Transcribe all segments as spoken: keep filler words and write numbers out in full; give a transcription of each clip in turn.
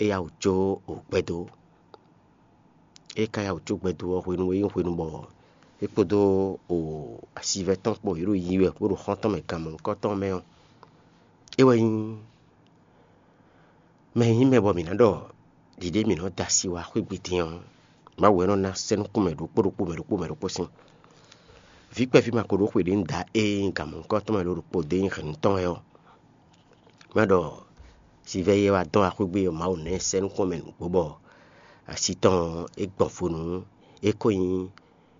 é yá wǔ jó gbɛdó. É ka yá wǔ jó gbɛdó ɔ́ hwenu e nyí hwenu bɔ é kpódó asivɛ́ tɔn kpó yě ɖo yiyi wɛ bó ɖo xɔ́n tɔn mɛ gan mɔ̌hunkɔtɔn mɛ ɔ́, é wɛ nyí mɛ e nyí mɛ bɔ mǐ ná ɖɔ ɖiɖe mǐ nɔ da asi wá xwé gbe din ɔ́, Mawu wɛ nɔ ná sɛ́ nukún mɛ ɖokpó ɖokpó mɛ ɖokpó mɛ ɖokpó sín. Vǐ kpɛví ma ko ɖó xwe ɖě un da ée nyí gan mɔ̌hunkɔtɔn mɛ ɖo ɖokpó dó nyí hɛ̌nnu tɔn wɛ ɔ́, má ɖɔ sivɛ́ e wá dɔn axwé gbé ɔ́, Mawu ná ɛ sɛ́ nukún mɛ nǔgbó bɔ asi tɔn ɔ́, é gbɔn vo nú é ko nyí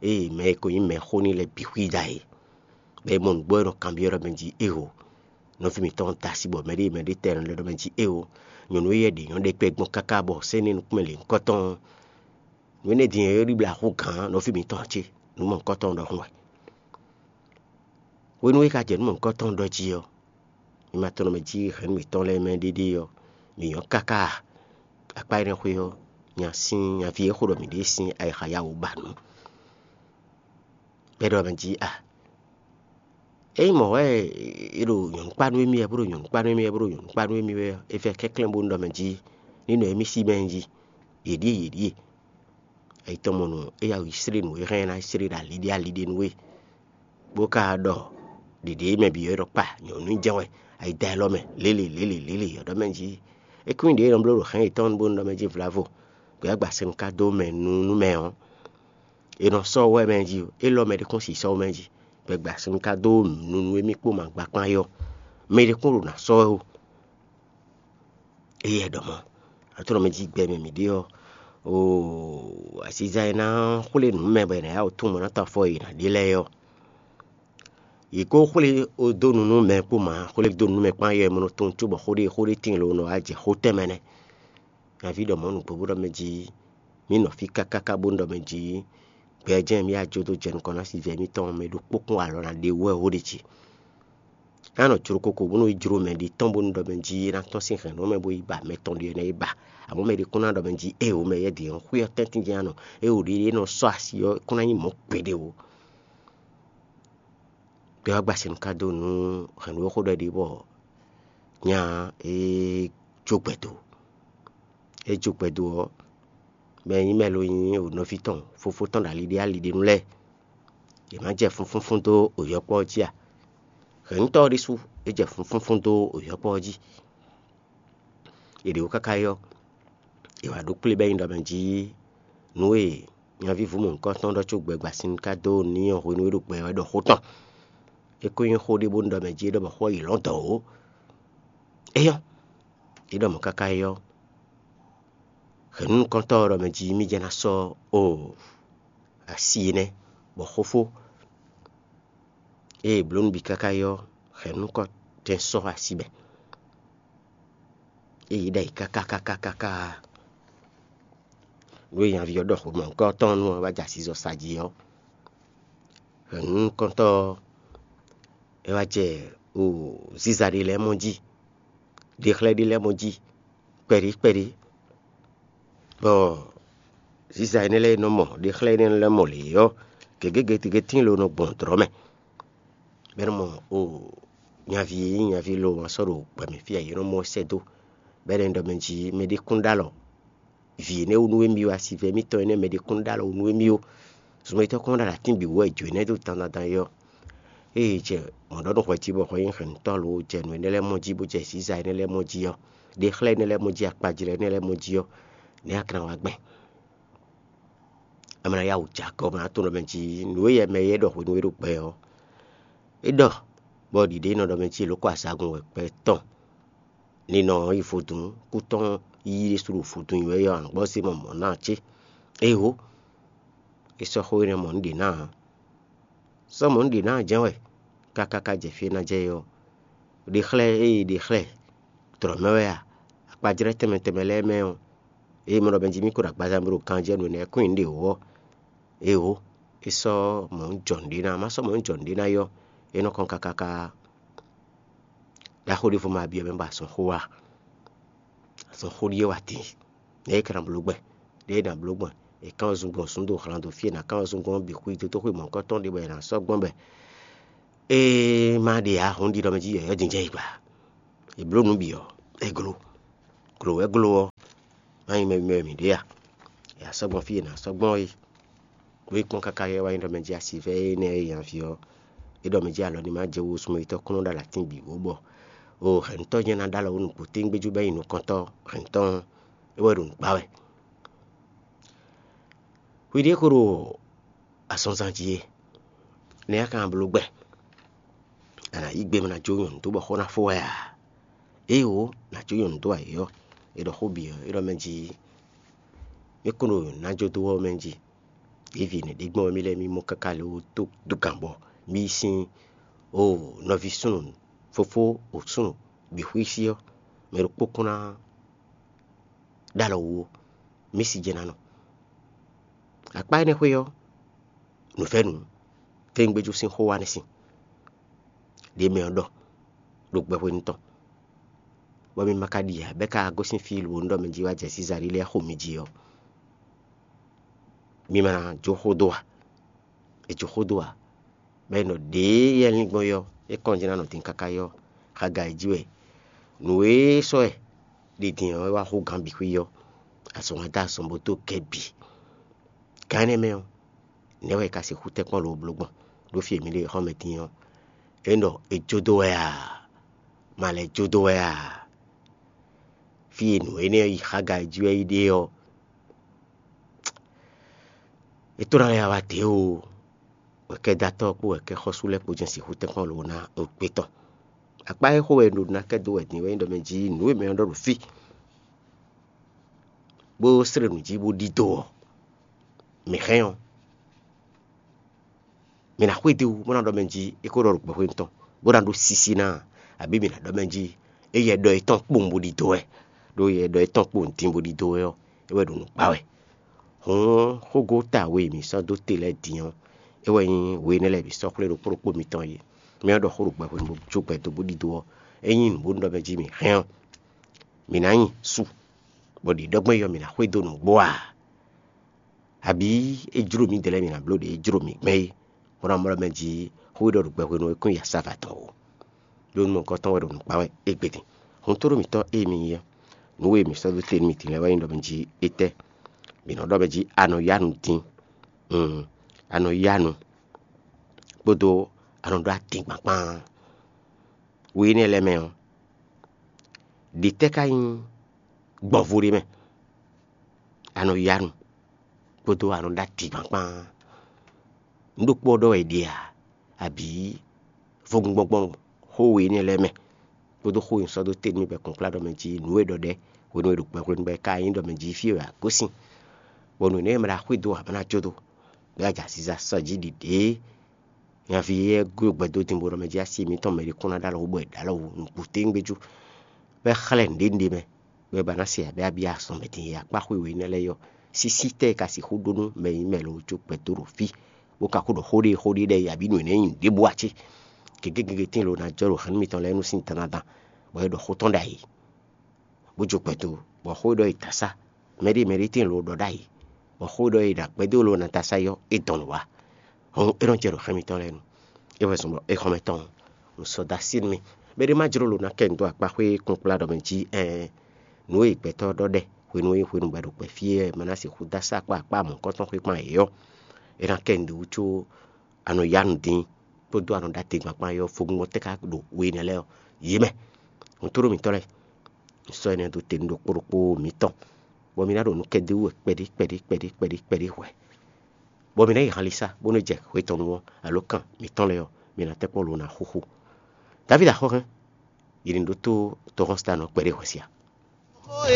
ée mɛ e ko nyí mɛxó n'i lɛ́ɛ bǐ xwída é. Bɔ è mɔ nǔgbó e nɔ kanbyɔ́ ɖɔ mɛ jí éeǒ. Nɔví mǐtɔn da asi bɔ mɛɖée mɛɖée tɛ nɔ lɛ́ ɖɔ mɛ jí éeǒ. Nyɔ̌nu éyɛ́ ɖě nyɔ́ ɖɛkpɛ gbɔn káká bɔ sɛ́n nɛ́ nukún mɛ lě nukɔ́tɔn ɔ́, nǔ énɛ́ din e é ɖibla axú gǎn nɔví mǐtɔn ǎ cé? Nǔ mɔ̌hunkɔtɔn ɖɔhun wɛ. Hwenu e é ka jɛ nǔ mɔ̌hunkɔtɔn ɖɔ jí ɔ́, mi ma tɔn nɔ mɛ jí hɛ̌nnu mǐtɔn lɛ́ɛ mɛ ɖéɖé ɔ́, mǐ nyɔ́ káká akpá énɛ́ xwé ɔ́, nya sín nyaví e xo ɖɔ mǐ ɖe sín ayixa ya wǒ ba nǔ. Bɔ é ɖɔ mɛ jí a ényí mɔ̌ wɛ è ɖo nyɔ̌nu kpá nú émí wɛ bó ɖo nyɔ̌nu kpá nú émí wɛ bó ɖo nyɔ̌nu kpá nú émí wɛ ɔ́, é vɛ́ kɛnklɛ́n bó nú ɖɔ mɛ jí ní nɔ émí sí mɛ jí yě ɖíe yě ɖíe. Ayi tɔn mɔ nǔ é yá yi slé nǔ e hɛn ná slé ɖo aliɖé aliɖé nú we, bó ka ɖɔ ɖěɖě mɛ bǐ ɔ́ ɖɔ kpa nyɔ̌nu jɛ́n wɛ ayi da élɔ́ mɛ lélè lélè lélè ɔ́ ɖɔ mɛ jí é kún nyí ɖě e nɔ bló ɖo hɛn yětɔn bónú ɖɔ mɛ jí vlavo, gbɛ̌ agba sɛn ka dó mɛ nu nú mɛ ɔ́, è nɔ sɔ́ wɛ mɛ jí, élɔ́ mɛ ɖé kún si sɔ́ mɛ jí, gbɛ̌ agba sɛn ka dó nu nú émí kpó ma gba kpán é ɔ́, mɛ ɖé kún ɖo nǎ sɔ́ wɛ ó. Éyɛ́ ɖɔ mɔ̌, atlɔ́mɛ jí gbɛ mɛ mǐ ɖe ɔ́, oo, aziza e ná xwlé nǔ mɛ bɔ è nǎ yá wǔ tunwun mɔ ná tɔ́ afɔ e è nǎ ɖe lɛ́ɛ ɔ́, yě ko xwlé dó nu nú mɛ kpó ma, xwlé dó nu nú mɛ kpán yɛ mɔ nɔ tunwun cóbɔ xó ɖé xó ɖé tíin lo nɔ wá jɛ xó tɛnmɛ nɛ́. Nyaví ɖɔ mɔ̌ nǔgbó bó ɖɔ mɛ jí mǐ nɔ fí káká bónú ɖɔ mɛ jí gbɛ jɛ́n mǐ yi ajotó jɛ nukɔn ná si vǐ mǐtɔn mɛ ɖokpó kún alɔ ná ɖe wú wɛ ó ɖe jí. É ná nɔ jló koko bónú yi jló mɛ ɖě tɔn bónú ɖɔ mɛ jí é ná tɔ́n sín hɛ̌nnu mɛ bó yi ba mɛ tɔn ɖé ɔ́ ná yi ba. Amɔ̌ mɛ ɖé kún ná ɖɔ mɛ jí éeǒ mɛ yɛ́ ɖě ɔ́ xwé ɔ́ tɛ́ntin jɛ́n ná nɔ, éeǒ ɖě é nɔ sɔ́ asi ɔ́ é kún ná nyí mɔ̌ gbeɖé ó. Gbɛ ɔ́ gba sɛn ka dó nú hɛ̌nnu e xó ɖɔ é ɖe bɔ nya é jó gbɛdo. É jó gbɛdo ɔ́, mɛ e nyí mɛ lo nyí nɔví tɔn fofó tɔn ɖo ali ɖé ali ɖé nu lɛ́ɛ. Yě má jɛ fúnfúnfún dó yɔkpɔ́ ɔ́ jí a? Hɛ̌nnutɔ́ ɔ́ ɖésú é jɛ fúnfúnfún dó yɔkpɔ́ ɔ́ jí. È ɖě wú káká yi ɔ́, è wǎ ɖó kplé bɔ é nyí ɖɔ mɛ jí nǔ e nyaví vǔ mɔ̌hunkɔtɔn ɖɔ có gbɛgbasín ka dó n'i ɔ́ hwenu e é ɖo gbɛ wɛ ɖɔ xó tɔn. É ko nyí xó ɖé bónú ɖɔ mɛ jí é ɖɔ bɔ xó ɔ́ yi lɔ̌n dɔ̌ ó. É nyɔ́, é ɖɔ mɔ̌ káká yi ɔ́, hɛ̌nnu nukɔntɔ́ ɔ́ ɖɔ mɛ jí mì jɛ́n ná sɔ́ o asi énɛ́, bɔ xófó ée è blǒ nǔ bǐ káká yi ɔ́, hɛ̌nnu nukɔntɛn sɔ́ asi mɛ. Ée yě ɖɔ ayǐ káká káká káká nǔ e nyaví ɔ́ ɖɔ xomɔ̌hunkɔtɔn nú ɔ́ wá jɛ asizɔ sa jí ɔ́, hɛ̌nnu nukɔntɔ́ ɔ́ é wá jɛ o ziza ɖé lɛ́ɛ mɔ jí, ɖexlɛ́ ɖé lɛ́ɛ mɔ jí kpɛɖí kpɛɖí, bɔ ziza énɛ́ lɛ́ɛ e nɔ mɔ ɖexlɛ́ énɛ́ lɛ́ɛ mɔ lě ɔ́, gěgé gěgé tíin lo nɔ gbɔn dlɔ̌ mɛ. Bɔ é nɔ mɔ o nyaví e nyí nyaví lo ma sɔ́ ɖo gbɛ mɛ fí ǎ, yě nɔ mɔ ɛ sɛ́ dó, bɔ é nɔ ɖɔ mɛ jí mɛɖé kún ɖó alɔ vǐ énɛ́ wú nú émí ó, asivɛ émítɔn énɛ́ mɛɖé kún ɖó alɔ wú nú émí ó. Zunmɛtɔ́ kɔn ɖo atín bǐ wú wɛ jǒ énɛ́ dó dandan dan é ɔ́, ée jɛ mɔ̌ ɖɔ nú hwɛ jí bɔ hwɛ nyí hɛ̌nnutɔ́ lo jɛ nǔ énɛ́ lɛ́ɛ mɔ jí bó jɛ zǐza énɛ́ lɛ́ɛ mɔ jí ɔ́, ɖexlɛ́ énɛ́ lɛ́ɛ mɔ jí, akpajlɛ́ énɛ́ lɛ́ɛ mɔ jí ɔ́, nɛ̌ a ka ná wá gbɛn? A ma ná yá wǔ jɛ akɔ, ma ná tunwun ɖɔ mɛ jí nǔ e yɛ mɛ e ɖɔ hwenu e ɖo gbɛ ɔ́, é ɖɔ bɔ ɖiɖe nɔ ɖɔ mɛ jí è lǒ kɔ azagun wɛ gbɛ tɔn. Ninɔ ɔ́ yi vodún kú tɔn yí ɖésú ɖo vodún yi wɛ yɔ anɔ̌gbɔ́ zé mɔ mɔ̌ ná ǎ cé? Éeǒ, é sɔ́ xó énɛ́ mɔ nǔ ɖě ná ǎ. Sɔ́ mɔ nǔ ɖě ná ǎ jɛ́n wɛ káká ká jɛ fí e ná jɛ é ɔ́, ɖe xlɛ́ ée ɖe xlɛ́ tlɔ̌ mɛ wɛ a? Akpajlɛ́ tɛnmɛ tɛnmɛ lɛ́ɛ mɛ ɔ́, ée mɛ ɖɔ Bɛnjamín ko ɖo agbaza mɛ bó ɖo ganjɛ́ nǔ énɛ́ kún nyi nǔɖé wú ɔ́, éeǒ, é sɔ́ mɔ̌ jɔ nǔɖé ná. Má sɔ́ mɔ̌ jɔ nǔɖé ná é ɔ́, é nɔ kɔn káká ká ɖaxó ɖěvo ma byɔ́ mɛ bɔ azɔn xó wá. Azɔn xó ɖíe wá din. Nɛ̌ é ka ná bló gbɛn? Nɛ̌ é ná bló gbɛn? È kán wezun gbɔn zǔn do hlan do fí e è nǎ kán wezun gbɔn ɔ́ bǐ xwí dó tó xwé mɔ̌hunkɔtɔn ɖé bɔ è nǎ sɔ́ gbɔn bɔ é má ɖe ǎ, hǔn ɖiɖɔ mɛ jí yɔ̌yɔ́ din jɛ yi gba. È blǒ nǔ bǐ ɔ́, é gló. Glǒ wɛ gló ɔ́, Má nyí mɛ mɛ mǐ ɖe a? È asɔ́gbɔn fí e nǎ sɔ́ gbɔn é. Ɖó é kpɔ́n káká yɛ wá nyí ɖɔ mɛ jí asi vɛ́ énɛ́ e nya ví ɔ́, é ɖɔ mɛ jí alɔ ní má jɛ wú súnmɔ yětɔn kúnnu ɖo alatín bǐ wó bɔ o hɛ̌ntɔ́ jɛ́n ná ɖó alɔ wú nukún téŋgbéjú bɔ é nyí nukɔntɔ́ hɛ̌ntɔ́ ɔ́, é wɛ ɖo nǔ kpa wɛ. Hwi ɖěe ko ɖo azɔnzan jí é, nɛ̌ a ka ná bló gbɛ? A nǎ yí gbe bó ná jó nyɔ̌nu dó bɔ xó ná fó wɛ a? Éeǒ, nǎ jó nyɔ̌nu dó ayǐ ɔ́, è ɖɔ xó bǐ ɔ́, é ɖɔ mɛ jí mí kún ɖo ná jó dó ɔ́ mɛ jí. Ɖěvi nɛ̌ ɖé gbɔn wɛ mí lɛ́ mí mɔ káká lě wó tó dó gǎn bɔ mí yi sín o nɔví súnnu fofó o súnnu bǐ xwísí ɔ́, mɛ ɖokpó kún ná ɖó alɔ wú ó, mí si jɛ́n ná nɔ. Akpá énɛ́ xwé ɔ́, nǔvɛ́nu téŋgbéjú sín xó wa nɛ́ sin ɖě mɛ ɔ́ ɖɔ ɖo gbɛhwenu tɔn, bɔ mi ma ka ɖi ǎ, bɔ é ka gosín fí lǒ ɖɔ mɛ jí wá jɛ Sizalée lɛ́ɛ xo mi jí ɔ́, mi ma ná jó xó dó a? È jó xó dó a? Bɔ è nɔ ɖě yɛ lín gbɔn é ɔ́, é kɔn jí ná nɔ din káká é ɔ́, Xaga e jí wɛ nǔ e sɔ́ ɛ ɖi din ɔ́, é wá xú gǎn bǐ xwí ɔ́, azɔn wá dó azɔn bó dó gɛ́ bǐ. Gǎn énɛ́ mɛ ɔ́, nɛ̌ wɛ è ka sixú tɛ́nkpɔ́n lǒ bló gbɔn ɖó fí e mǐ ɖe xɔ́mɛ din ɔ́? É ɖɔ è jó dó wɛ a? Ma lɛ́ jó dó wɛ a? Fí e nǔ énɛ́ yi Xaga e jí wɛ é yi ɖe ɔ́, é tó ná lɛ́ wá dě o. Wɛ̌kɛ́dátɔ́ kpó wɛ̌kɛ́xɔ́sú lɛ́ɛ kpó jɛ́n sixú tɛ́nkpɔ́n lǒ ná gbé tɔn. Akpá e xó wɛ un ɖo ná kɛ dó wɛ din wɛ nyí ɖɔ mɛ jí nǔ e mɛ ɔ́ ɖɔ ɖo fí, bó slé nǔ jí bó ɖidó ɔ́, mǐ hɛn ɔ́, mǐ ná xwedó wú bó ná ɖɔ mɛ jí é ko ɖɔ ɖo gbɛxwé tɔn, bó ná ɖó sísí ná, abǐ mǐ ná ɖɔ mɛ jí é yɛ ɖɔ yětɔn kpowun bó ɖidó wɛ, ɖó yɛ ɖɔ yětɔn kpowun din bó ɖidó wɛ ɔ́, é wɛ ɖo nǔ kpa wɛ. Hǔn xógóta we e mǐ sɔ́ dó te lɛ́ɛ din ɔ́, é wɛ nyí we énɛ́ lɛ́ɛ bǐ sɔ́ xwlé ɖokpó ɖokpó mitɔn é. Mɛ ɔ́ ɖɔ xó ɖo gbɛhwenu bó jó gbɛ dó bó ɖidó ɔ́, é nyí nǔ bó ɖɔ mɛ jí mǐ hɛn ɔ́, mǐ ná nyi su, bɔ ɖě ɖɔ gbɔn é ɔ́, mǐ ná xwedó nǔgbó a? Abǐ é jló mǐdɛɛ lɛ́ɛ mǐ ná bló ɖě é jló mǐ gbɛn é, bó ná mlɔ́ mɛ jí xó e ɖɔ ɖo gbɛhwenu ɔ́ kún yi asáva tɔn ó. Ɖó nú mɔ̌hunkɔtɔn wɛ ɖo nǔ kpa wɛ égbé din. Hun tónú mǐtɔn e mi nyí ɔ́, nǔ e mǐ sɔ́ dó te nú mi din lɛ́ɛ wɛ nyí ɖɔ mɛ jí étɛ́? Mǐ nɔ ɖɔ mɛ jí a nɔ yá nu din, un, a nɔ yá nu kpódó a nɔ ɖó adingban kpán. We énɛ́ lɛ́ɛ mɛ ɔ́, ɖě tɛ́ ka nyí gbɔ̌vo ɖé mɛ? A nɔ yá nu kpódó a nɔ ɖó adingban kpán. Nǔ ɖokpó ɔ́ ɖɔ wɛ è ɖe a, abǐ vodúngbɔ́ngbɔ́n xó we énɛ́ lɛ́ɛ mɛ, kpódó xó e un sɔ́ dó te nú mi bɔ kplɔ́nkplɔ́n ɖɔ mɛ jí nǔ e ɖɔ ɖɛ́ hwenu e ɖo gbɛ hwenu bɔ é ka nyí ɖɔ mɛ jí fí e wɛ a gosín, bɔ nǔ énɛ́ e mɛ ɖo axwé dó ǎ ma ná jó dó, bɔ é wá jɛ aziza sɔjí ɖiɖě. Nyaví éyɛ́ gúdo gbɛ dó din bó ɖɔ mɛ jí asi mǐtɔn mɛ ɖé kún ná ɖó alɔ wú bɔ è ɖǒ alɔ wú nǔgbó téŋgbéjú, bɔ é xlɛ́ nǔɖé nǔɖé mɛ, bɔ é ba ná se abǐ abí azɔn mɛ din e akpá xwé we énɛ́ lɛ́ɛ yɔ. Sísí tɛ́ e ka sixú ɖó nú mɛ e nyí mɛ lɔ́ jó gbɛ dó ɖo fí, bó ka ko ɖɔ xó ɖé xó ɖé ɖɛ́ abǐ nǔ énɛ́ nyi nǔɖé bó ǎ cé? Gěgé gěgé tíin lo ná jɔ ɖo hɛ̌nnu mitɔn lɛ́ɛ nu sín dandandan, bɔ é ɖɔ xó tɔn ɖ'ayǐ, bó jó gbɛ dó, bɔ xó e ɖɔ è dǎ sá, mɛɖé mɛɖé tíin lo ɖɔ ɖ'ayǐ, bɔ xó e ɖɔ è ɖo agbɛ́ dó lo ná dǎ sá yɔ é dɔn nǔ wá. Hɔn é nɔ jɛ ɖo xɛ́n mitɔn lɛ́ɛ nu. É wɛ zɔn bɔ é xɔ́mɛ tɔn un sɔ́ dó así nú mì. Mɛɖé má jló lo ná kɛ nu dó akpá xwé kplɔ́nkplɔ́n ɖɔ mɛ jí ɛɛn, nǔ e gbɛtɔ́ ɖɔ ɖɛ hwenu e hwenu bɔ è ɖo gbɛ fí e ma ná sixú dó asá kpó akpá mɔ̌hunkɔtɔn xwé kpán yě ɔ́, é ná kɛ nu dó wú có a nɔ yá nu dín kpódó a nɔ ɖó ategban kpán yɔ fogbɔn tɛ́ ká ɖo we énɛ́ lɛ́ɛ ɔ́, yě mɛ. Nǔtɔ́ɖó mǐtɔn lɛ́ɛ, un sɔ́ énɛ́ dó te nú ɖokpó ɖokpó mǐtɔn, bɔ mi ná ɖo nǔ kɛ dó wú wɛ kpɛɖé kpɛɖé kpɛɖé kpɛɖé kpɛɖé hwɛ, bɔ mi ná yi hanlisa bónú jɛ hwe tɔn nu ɔ́, alǒ kan mǐtɔn lɛ́ɛ ɔ́, mi ná tɛ́ kpɔ́n lo ná xúxú. Davídi axɔ́hɛn, yi ní ɖótó tɔhɔnsitanɔ kpɛɖé hwɛ sia.